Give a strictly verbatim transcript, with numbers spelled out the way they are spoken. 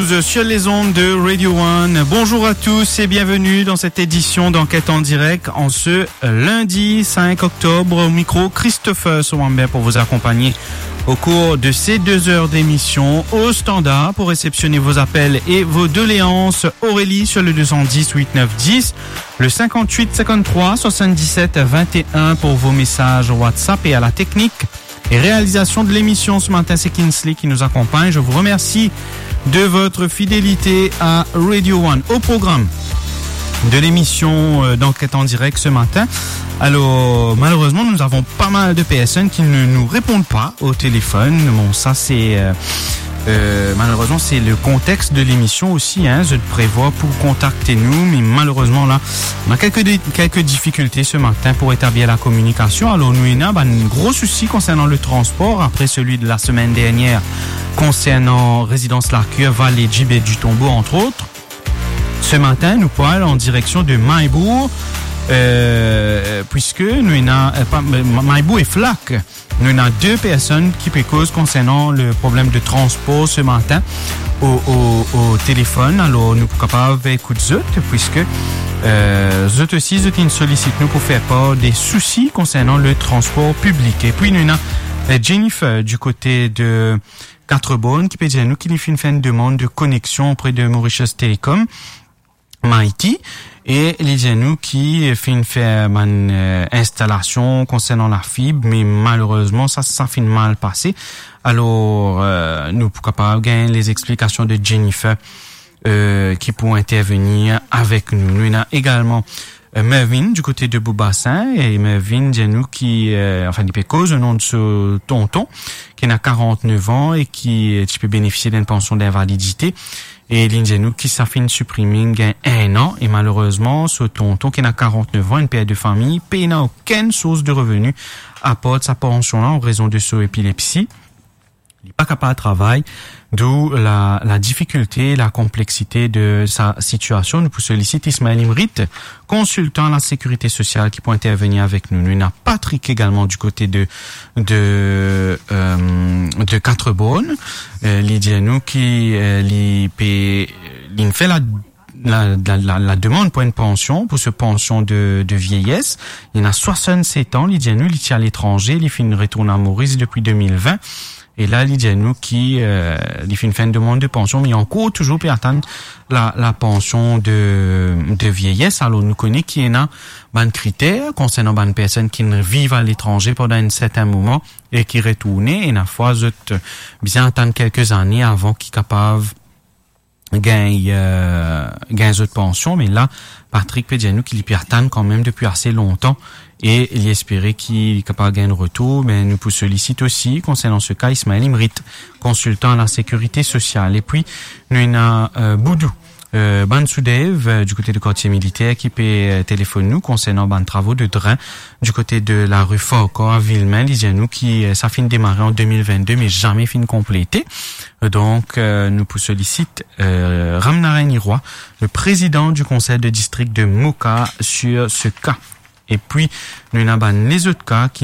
Sur les ondes de Radio One. Bonjour à tous et bienvenue dans cette édition d'Enquête en direct en ce lundi cinq octobre. Au micro, Christopher Soambe pour vous accompagner au cours de ces deux heures d'émission. Au standard pour réceptionner vos appels et vos doléances, Aurélie sur le deux cent dix huit neuf dix, le cinquante-huit cinquante-trois soixante-dix-sept vingt et un pour vos messages WhatsApp et à la technique et réalisation de l'émission ce matin, c'est Kinsley qui nous accompagne. Je vous remercie de votre fidélité à Radio One. Au programme de l'émission, euh, d'Enquête en direct ce matin. Alors, malheureusement, nous avons pas mal de personnes qui ne nous répondent pas au téléphone. Bon, ça, c'est, euh, euh, malheureusement, c'est le contexte de l'émission aussi, hein. Je prévois pour contacter nous, mais malheureusement, là, on a quelques dé-, quelques difficultés ce matin pour établir la communication. Alors, nou ena bann gro sousi concernant le transport après celui de la semaine dernière concernant Résidence Larcure, Vallée Djib et du Tombeau, entre autres. Ce matin, nou pou al en direction de Maillebourg, euh, puisque nou ena, euh, pas, euh, Ma-, Maillebourg et Flac. Nou ena de personn ki pe koz concernant le problème de transport ce matin au, au, au téléphone. Alors, nou pou kapav ekout zot, puisque, euh, zot osi, zot inn solisit nou pour faire part des soucis concernant le transport public. Et puis, nou ena, euh, Jennifer du côté de Quatre-Bornes ki pe dir nou ki li finn fer enn demann de connexion auprès de Mauritius Telecom, Mitie, e li dir nou ki finn fer bann, euh, installation concernant la fibre, mais malheureusement, sa, sa finn mal pase. Alors, euh, nou pou kapav gagn les explications de Jennifer, euh, ki pou intervenir avec nous. Nou ena également, euh, Mervyn du côté de Beaubassin, e Mervyn dir nou ki, euh, enfin, li pe koz o nom de so tonton, ki ena quarante-neuf ans e ki, euh, ti pe bénéficier d'une pension d'invalidité. E li dir nou ki sa finn siprime gagn enn an, e malerezman, so tonton ki ena quarante-neuf ans, enn per de fami, pena okenn sours de revenu apar sa pansion la, an rezon de so epilepsi. Li pa kapav travay, d'où la, la difikilte, la konplexite de sa sitiasion. Nou pou solisit Ismaël Imrit, konsiltan la sécurité sociale, ki pou intervenir avek nou. Nou ena Patrick également du côté de, de, euh, de Quatre-Bornes. Euh, li dir nou ki, euh, li pe, li fer la, la, la, la, la demann pou enn pansion, pou so pansion de, de vieyès. Li ena soixante-sept ans, li dir nou, li ti aletranze, li finn retourn a Moris depi deux mille vingt. E la, li dir nou ki, euh, li finn fer enn demann de pansion, me li ankor touzour pe atann la, la pansion de, de vieyès. Alor, nou kone ki ena bann kriter konsernan bann personn ki viv aletranze pandan enn sertin moman e ki retourne, e ena fwa zot bizin atann kelke zane avan ki kapav gagn, euh, gagn zot pansion, me la, Patrick pe dir nou ki li pe atann kanmem depi ase lontan e li espere ki li kapav gagn retour, me nou pou solisit osi, konsernan se ka, Ismaël Imrit, konsiltan la sécurité sociale. E pi, nou ena, euh, Boudou, euh, Bansoudev, euh, du côté de Quartier Militaire, ki pe, euh, telefonn nou konsernan bann travo de dren du côté de la rue Farquhar à Villemin. Li dir nou ki, euh, sa finn demare an deux mille vingt-deux, me zame finn konplete. Donk, euh, nou pou solisit, euh, Ramnarain Irois, le président du conseil de district de Moka, sur ce cas. E pi, nou ena bann lezot ka ki